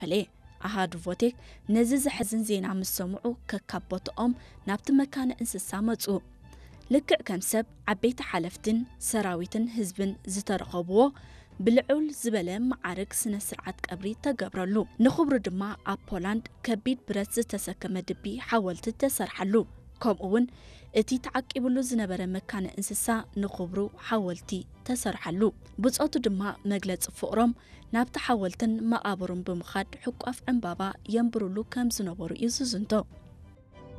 ፔሌ። ኣሃዱ ቮቴክ ነዚ ዘሕዝን ዜና ምስ ሰምዑ፣ ከካብ ቦትኦም ናብቲ መካነ እንስሳ መጹ። ልክዕ ከም ሰብ፣ ዓበይቲ ሓለፍትን ሰራዊትን ህዝብን ዝተረኸብዎ፣ ብልዑል ዝበለ መዓርግ ስነ ስርዓት ቀብሪ ተገብረሉ። ንኽብሩ ድማ ኣብ ፖላንድ ከቢድ ብረት ዝተሰከመ ድቢ ሓወልቲ ተሰርሓሉ። ከምኡ እውን እቲ ተዓቂብሉ ዝነበረ መካነ እንስሳ ንኽብሩ ሓወልቲ ተሰርሓሉ። ብጾቱ ድማ መግለጺ ፍቕሮም ናብቲ ሓወልትን መቓብሩን ብምኻድ ሕቋፍ ዕምባባ የንብሩሉ ከም ዝነበሩ እዩ ዝዝንቶ።